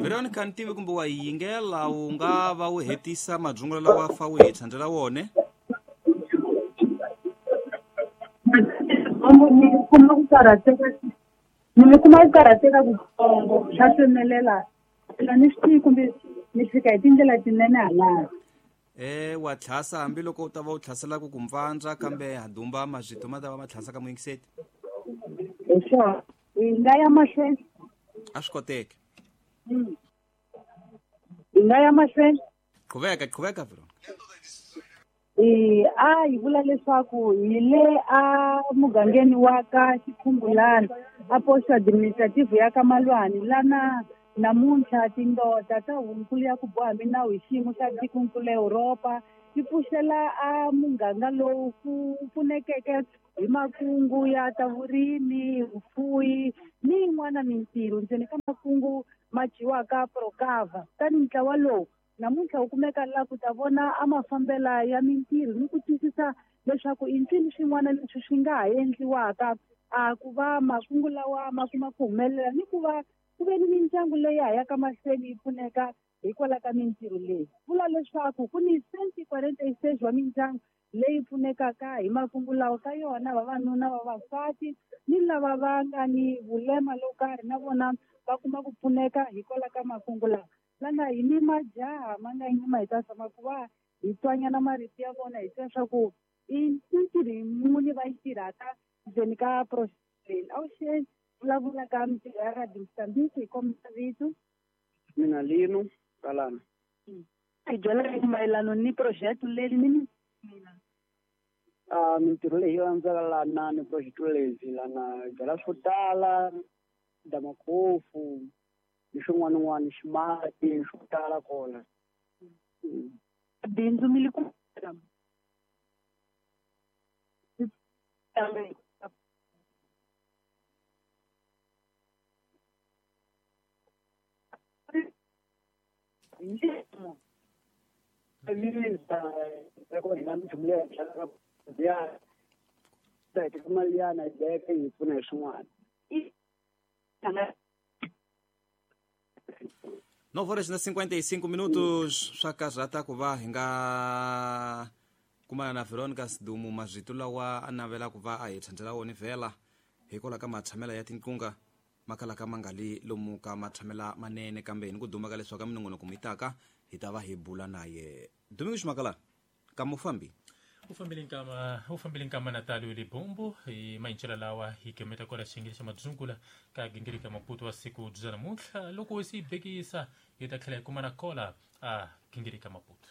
Veronica ni tivi kumbe wa yi yingela u nga va u hetisa madzungulo lawa fa u hi tshandzela wone. Ni kuma ku karhateka ni kuma ku karhateka kutsongo swa tsemelela phela ni swi tivi kumbe ni fika hi tindlela tinene halaya. Wa tlhasa hambiloko u ta va u tlhasela ku ku mpfandza kambe ha dumba mazito ma ta va ma tlhasa ka muyingiseti. Hi swona hi nga ya mahlweni. A swi koteki. Hi nga ya mahlweni. Qhuveka qhuveka Veronica. A hi vula leswaku hi le a mugangeni wa ka Xikhumbulani a posto administrative ya ka Malwani lana namuntlha tindoda ta hunkulu ya ku boha minawu hi xiyimo xa tikonkulu Europa ti pfuxela a muganga lowu ku pfunekeke hi makungu ya ta vurimi, vufuwi ni yin'wana mintirho ndzeni ka makungu ma dyiwaka Procava. Kutani ntlawa lowu namuntlha wu kumeka la ku ta vona a mafambela ya mintirho ni ku twisisa leswaku i ncini swin'wana leswi swi nga ha endliwaka a ku va makungu lawa ma kuma ku humelela ni ku va ku ve ni mindyangu leyi ha yaka mahlweni yi pfuneka hikwalaho ka mintirho leyi. Vula leswaku ku ni 146 wa mindyangu leyi pfunekaka hi makungu lawa ka yona vavanuna, vavasati ni lava va nga ni vulema lo karhi na vona va kuma ku pfuneka hikwalaho ka makungu lawa. Lana hi ni majaha ma nga yima hi ta zama ku va hi twanyana marito ya vona hi twa swa ku i mintirho muni va yi tirhaka ndzeni ka project leyi. Avuxeni, vulavula ka mintirho ya Radio Mozambique hi kombela vito. Mina Lino Kalana. Hi byela mayelana ni project leyi ni mina. Mintirho leyi landzaka lana ni project leyi lana byala swo tala, damakhofu, ni swin'wana n'wana ximati swo tala kona. Bindzu mi le ku Mali yana yi veka yi pfuna hi swin'wana. 9 horas na 55 minutos swa karhata ku va hi nga kumana na Veronica Sidumu mazito lawa a navela ku va a hi tshandzela wona vhela hikwalaho ka matshamela ya tinqunga makalaka ma nga li lomu ka matshamela manene kambe hi ni ku duma ka leswaku ka minongonoko mi taka hi ta va hi bula na ye. Domingos Makalana ka mufambi. U fambile nkama Natalio Libombo hi mayincela lawa hi gemeta kwala xiyenge xa madzungula ka gingirika Maputo wa siku bya namuntlha loko se yi bekisa hi ta tlhela hi kuma na kola a gingirika Maputo.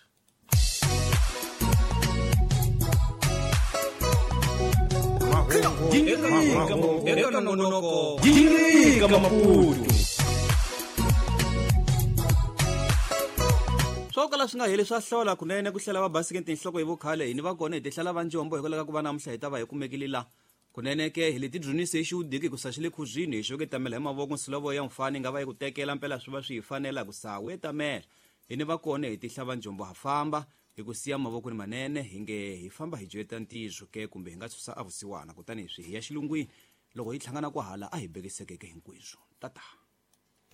Eka nongonoko Gingirika Maputo. Swo kala swi nga heli swa hlola kunene ku hlela va basike tinhloko hi vukhale hi ni va kona hi tihlala va njombo hikwalaho ka ku va namuntlha hi ta va hi kumekile la kunene ke hi leti dzunise hi xiwudiki ku sa xi le khuzwini hi xoke tamela hi mavoko nsilovo ya mfani nga va yi ku tekela mpela swi va swi hi fanela ku sa we tamela hi ni va kona hi tihla va njombo ha famba hi ku siya mavoko ni manene hi nge hi famba hi joyeta ntizo ke kumbe hi nga susa a vusiwana kutani swi hi ya xilungwini loko hi hlangana kwahala a hi bekisekeke hinkweswo tata.